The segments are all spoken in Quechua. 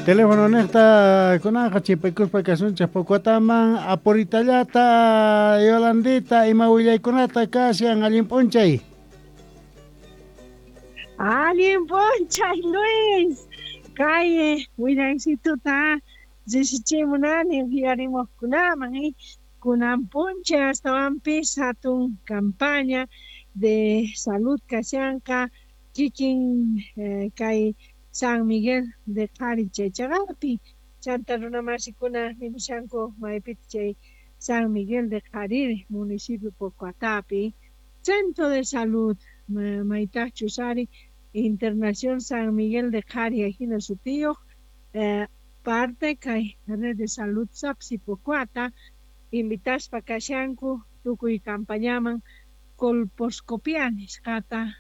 Teléfono niqta kunanqa chipaykuspa kasunchik Pocuataman apuritallata Yolandita ima willaykunata kashan allin p'unchay. Allin p'unchay Luis, kay willaysituta risichimunani uyarimuqkunaman kunan p'unchay astawanpis hatun campaña de salud kashanqa kikin kay San Miguel de Qhari chay chaqapi chanta runamasikuna nimushanku maypita chay San Miguel de Qhariri municipio Pocuatapi Centro de Salud maytaqchus ari Internación San Miguel de Qhari ajina sutiyuq parte kay Red de Salud Sapsi Pocuata invitaspa kashanku tukuy campañaman colposcopia nisqata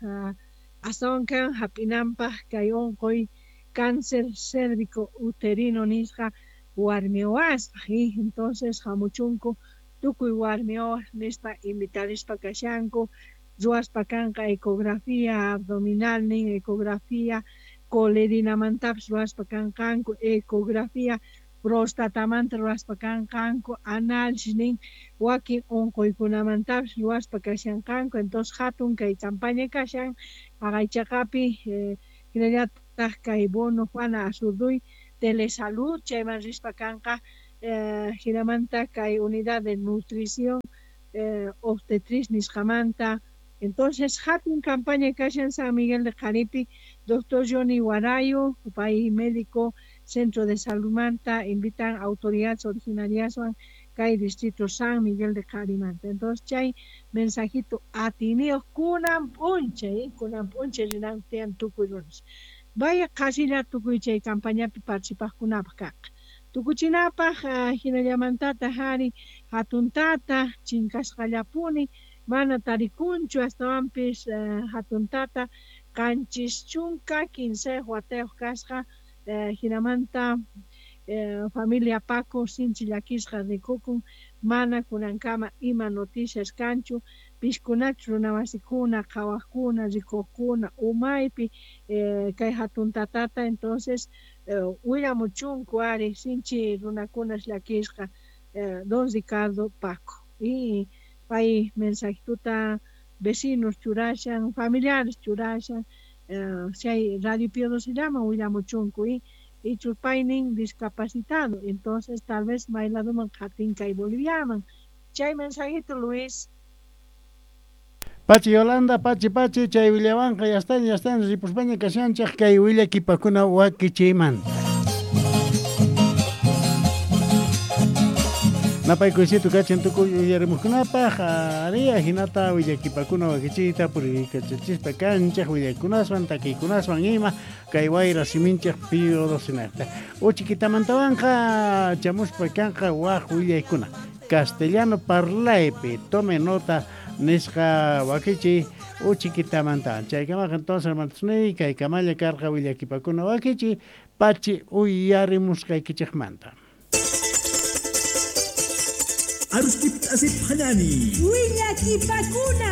astawan kan hap'inanpaq kay unquy cáncer cérvico uterino nisqa warmi wawaspaq entonces hamuchunku tukuy warmi wawas nispa invitarispa kashanku ruwaspa kanqa ecografía abdominal nin ecografía colerinamantapas ruwaspa kanqanku ecografía prostatamanta ruwaspa kanqanku análisis nin wakin unquykunamantapas ruwaspa kashanqanku entonces hatun kay campaña kashan haqay hinallataq kay bono Juana Azurduy telesalud chayman rispa kanqa hinamanta kay unidad de nutrición obstetriz nisqamanta entonces hatun campaña kashan San Miguel de Qharipi doctor Johnny Guarayo pay médico Centro de Salud manta invitan autoridades originarias kay distrito San Miguel de Qharimanta entonces chay mensajito atiniyuq kunan p'unchay kunan p'unchay rinanku tiyan tukuy runas vaya qasilla tukuy chay campañapi participaqkunapaq kanqa tukuchinapaq hinallamantataq ari hatun tata chinkasqallapuni mana tarikunchu astawanpis hatun tata 73 watayuq kasqa hinamanta familia Paco sinchi llakisqa rikukun mana kunankama ima noticias kanchu pishkunachu runamasikuna qhawaqkuna rikuqkuna umaypi kay hatun tatata entonces willamuchunku ari sinchi runakunas llakisqa don Ricardo Paco y pay mensajituta vecinos churashan familiares churashan chay Radio Pío XII llaman willamuchunku y churpaynin discapacitado entonces tal vez may laduman qatin kay Boliviaman chay mensajito Luis. Pachi Yolanda, pachi pachi chay willawanqa ya están ripuspaña kashanchik kay willakipakuna wakichiymanta. Napaykuysito kachin tukuy uyarimuqkunapaq ari hinata willakipakuna wakichiyta puriykachachispa kanchik willaykunaswan takiykunaswan ima kay wayra siminchik Pío XII Uchikitamantawanqa chamuspa kanqa waq willaykuna castellano parlaypi tome nota nisqa wakichi uchikitamantawan chaykamaqa entonces hermanosniy kay kamalla karqa willakipakuna wakichi pachi uyarimusqaykichikmanta. Arustip asip hanani. Willakipakuna.